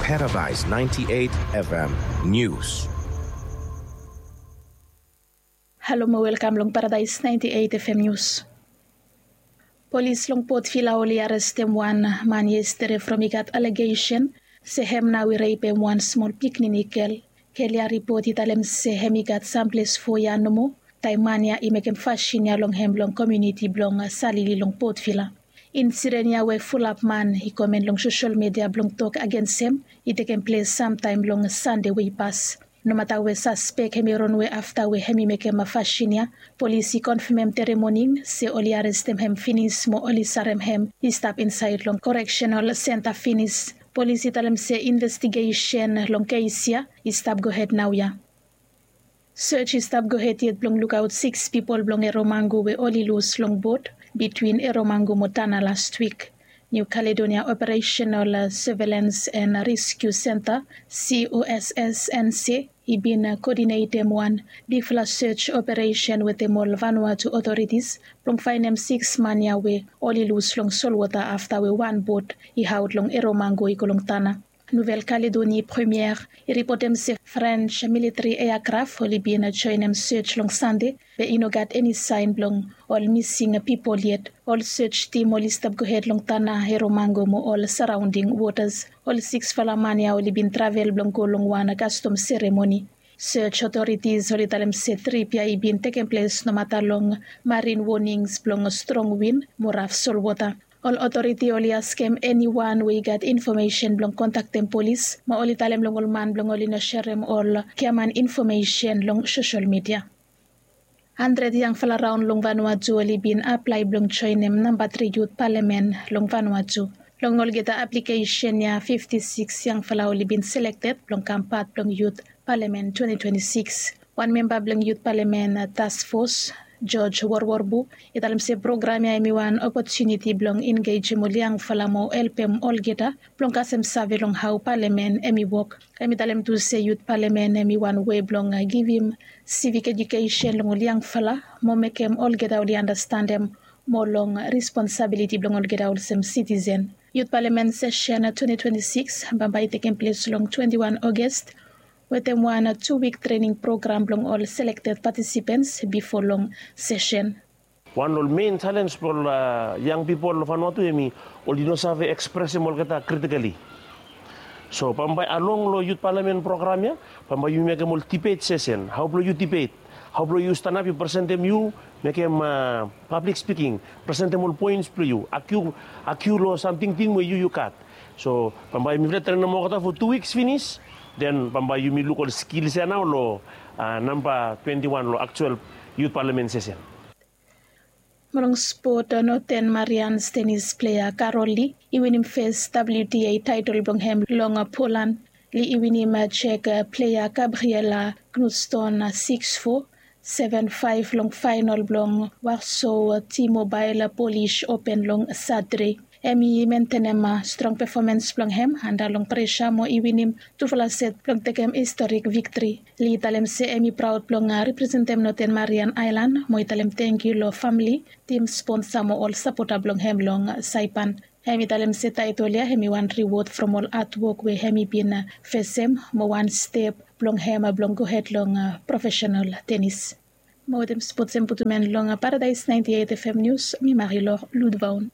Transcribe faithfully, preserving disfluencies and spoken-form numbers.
Paradise ninety-eight F M News. Halo mo welkam long Paradise ninety-eight F M News. Polis long Port Vila oli arestem wan man yestede from i gat alegesen se hem nao i repem wan smol pikinini gel. Gel ya ripot i talem se hem i gat samples fo ya nomo taem man ya i mekem fasin ya long hem long komuniti blong Salili long Port Vila. Insiden ya we fulap man i komen long sosel media blong tok agensem i tekem ples samtaem long Sande we i pas. Nomata we saspek hem i ronwe afta we hem i mekem fasin ya, polis i konfemem tere moning se oli arestem hem finis mo oli sarem hem i stap insaed long koreksenal senta finis. Polis i talem se investigesen long kes ya i stap gohed naoia. Sej i stap gohed yet blong lukaot siks pipol blong Eromango we oli lus long bot bitwin Eromango mo Tana lastwik. New Caledonia Operational Surveillance and Rescue Center, C O S S N C, i bin koodinetem wan bigfala sej operesen wetem ol Vanuatu otoritis blong faenem siks man ya we oli lus long solwota afta we wan bot i aot long Eromango i go long Tana. Nouvelle Calédonie Première i ripotem se French militeri eakraf oli bin joenem sej long Sande be i no gat eni saen blong ol mising pipol yet. Ol sej tim oli stap gohed long Tana, Eromango mo ol saraonding wotas. Ol siksfala man ya oli bin travel blong go long wan kastom seremoni. Sej otoritis oli talem se trip ya i bin tekem ples nomata long marin wonings blong strong win mo raf solwota. Ol otoriti oli askem eniwan we i gat infomesen blong kontaktem polis mo oli talem long ol man blong oli no serem ol giaman infomesen long sosel media. Handred yangfala raon long Vanuatu oli bin aplae blong joenem namba tri yut palamen long Vanuatu. Long olgeta aplikesen ya, fifti siks yangfala oli bin selekted blong kam pat blong yut palamen twenti twenti siks. Wan memba blong yut palamen task fos, George Worworbu, i talem se program ya hem i wan opotuniti blong engejem ol yangfala mo helpem olgeta blong kasem save long hao palamen hem i wok. Hem i talem tu se yut palamen hem i wan wei blong givim sivik ejukesen long ol yangfala mo mekem olgeta oli andastandem moa long responsabiliti blong olgeta olsem sitisen. Yut palamen sesen twenti twenti siks bambae i tekem ples long twenti wan Ogest wetem wan tu wik trening program blong ol selekted patisipens bifo long sesen. Wan long ol men jalens blong ol yang pipol long Vanuatu hemi oli no save ekspresem olgeta kritikali. So bambae along long yut palamen program ya bambae yumi mekem ol dibet sesen, hao blong yu dibet, hao blong yu stanap yu presentem, yu mekem pablik spiking, presentem ol poens blong yu, agiu long sam tingting we yu yu gat. So bambae mifala trenem olgeta fo tu wiks finis, den bambae yumi luk ol skils ya nao long namba twenti wan long aktual yut palamen sesen. Mo long spot, Northern Marians tenis plea Carol Lee i winim fes W T A taetol blong hem long Polan. Lee i winim Czech plea Gabriela Knutston siks fo, seven faef long faenol blong Warsaw T-Mobile Polish Open long Satade. Hem i mentenem strong pefomans blong hem anda long presa mo i winim tufala set blong tekem historik viktri. Lee i talem se hem i praod blong representem Northern Marian Aelan mo i talem tangkiu long famle, tim sponsa mo ol sapota blong hem long Saipan. Hem i talem se taetol ya hem i wan riwod from ol adwok we hem i bin fesem mo wan step blong hem blong gohed long profesenal tenis. Mo wetem spots hem putum en long Paradise ninety eight F M News, mi Marilor Ludvaun.